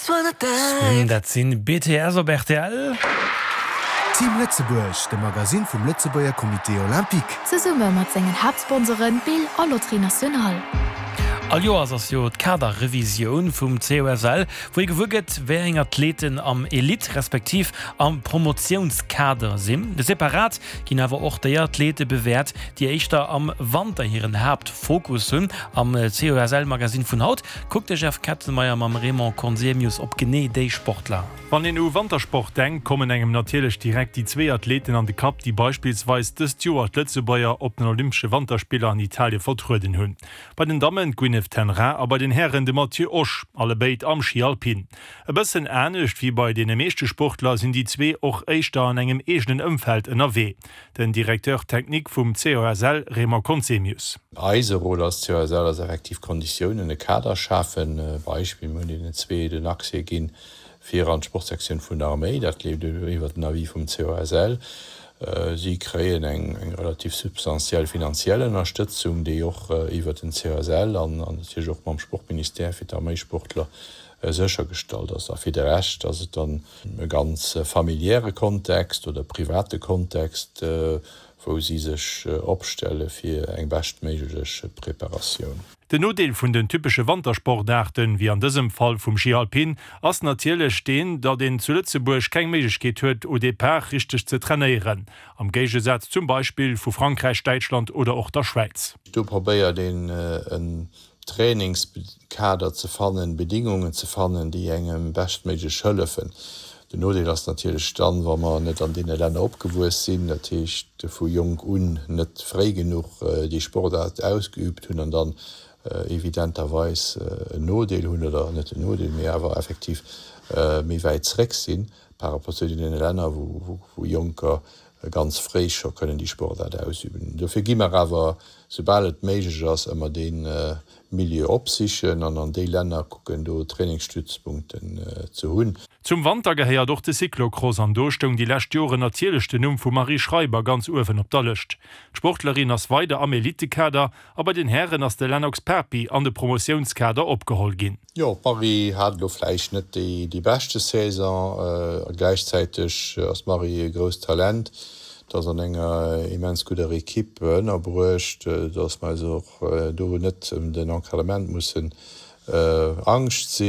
Dat sinn BTS op rtl. Team Lëtzebuerg, de Magasinn vum Lëtzebuerger Comité Olympique. Zesumme mat sengen Haaptsponsoren Bill a Loterie Nationale. All Joers ass jo d'Kaderrevisioun vum COSL, wou ee gewuer gëtt, wéi eng Athleten am Elite respektiv am Promotiounskader sinn. Separat ginn awer och déi Athlete bewäert, déi éischter am Wanter hiren Haaptfokus hunn. Am COSL-Magasinn vun haut kuckt de Jeff Kettenmeyer mam Raymond Conzemius op genee déi Sportler. Wann een u Wantersport denkt, kommen engem natierlech direkt déi zwee Athleten an de Kapp, déi beispillsweis dëst Joer d'Lëtzebuerger op den Olympesche Wanterspiller an Italie vertrueden hunn. Bei den Dammen d'Gwyneth ten Raa a bei den Hären de Matthieu Osch, allebéid am Schi Alpin. E bëssen anescht wéi bei deene meeschte Sportler sinn déi zwee och éischter an engem eegenen Ëmfeld ënnerwee. Den Directeur technique vum COSL Raymond Conzemius. Eise Rôle als COSL ass effektiv Konditiounen, e Kader schafen. Beispill, mir hunn deenen zwee den Accès ginn fir an d'Sportsektioun vun der Arméi. Dat leeft iwwert den Avis vum COSL. Si kréien eng relativ substantiell finanziell Ënnerstëtzung, déi och iwwert den COSL an natierlech och mam Sportministère fir d'Arméisportler séchergestallt ass. A fir de Rescht ass et dann e ganz familiäre Kontext oder private Kontext, wou si sech opstelle fir eng beschtméiglech Preparatioun. Den Nodeel vun den typesche Wantersportaarten, wéi an dësem Fall vum Ski Alpin, ass natierlech deen, datt een zu Lëtzebuerg keng Méiglechkeet huet, au départ richteg ze trainéieren, am Géigesaz zum Beispill vu Frankräich, Däitschland oder och der Schwäiz. Do probéiert een en Trainingskader ze fannen, Bedingungen ze fannen, déi engem beschtméiglech hëllefen. Den Nodeel ass natierlech dann, wa mer net an deene Länner opgewuess sinn, dat heescht vu jonk un net fréi genuch déi Sportaart ausgeübt hunn an dann evidenterweis en Nodeel hunn, oder net en Nodeel, mee awer effektiv méi wäit zréck sinn par rapport zu deene Länner, wou Jonker ganz fréi scho kënnen déi Sportaart ausüben. Dofir gi mer awer, soubal et méiglech ass, ëmmer dee Milieu opsichen an an déi Länner kucken, do Trainingsstützpunkten ze hunn. Zum Wanter gehéiert och de Cyclocross an do stoung déi lescht Joren natierlech den Numm vum Marie Schreiber ganz uewen op der Lëscht. D'Sportlerin ass weider am Elitekader a bei den Hären ass de Lennox Papi an de Promotiounskader opgeholl ginn. Jo, d'Marie hat elo vläicht net déi beschte Saison. A gläichzäiteg ass d'Marie e grousst Talent. Et ass an enger immens gudder Equipe ënnerbruecht, dass mer eis och do net ëm den Encadrement mussen Angscht sinn.